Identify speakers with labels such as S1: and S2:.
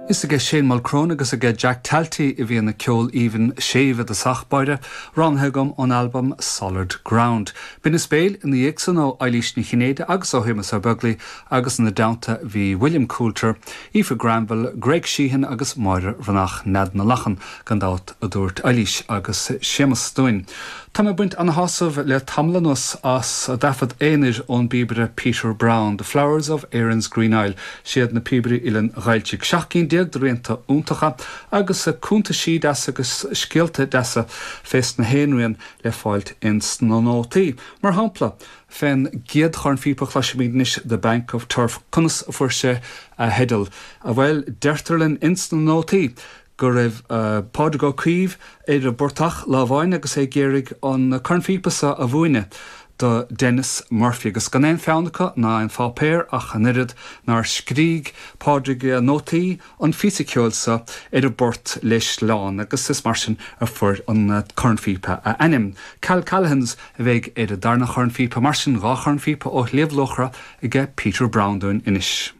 S1: Is aige Shane Mulchrone agus aige Jack Talty a bhí an ceol aoibhinn séimh i dtosach báire, roghnaithe agam ón albam Solid Ground. Binneas béil ina dhiaidh san ó Eilís Ní Chinnéide agus ó Shéamus Ó Beaglaoi agus ina dteannta bhí William Coulter, Aoife Granville, Greg Sheehan agus Máire Bhreathnach, Nead na Lachan gan dabht a dúirt Eilís agus Séamus dúinn. Tá mé ag baint ana-shásamh le tamall anuas as taifead aonair ón bpíobaire Peter Browne, The Flowers of Erin's Green Isle, siad na píobairí Oileáin Ghailltigh. 17 cinn de rianta iontacha agus cuntaisí deasa agus scéalta deasa fés na haon rian le fáilt ins na nótaí. Mar shampla, fén gcéad chornphíopa a chloisfimid anois, The Bank of Turf, conas a fuair sé a theideal? Bhuel, deirtear linn ins na nótaí go raibh Pádraig Ó Caoimh ar an bportach lá amháin agus é ag iarraidh an cornphíopa seo a mhúineadh do Denis Murphy agus gan aon pheann acu ná aon pháipéar ach an oiread nár scrígh Pádraig nótaí an phíosa ceoil seo ar an bport le sleán agus is mar sin a fuair an cornphíopa a ainm. Cal Callaghan's a bheidh ar an darna chornphíopa mar sin, dha chornphíopa ó Shliabh Luachra aige Peter Browne dúinn anois.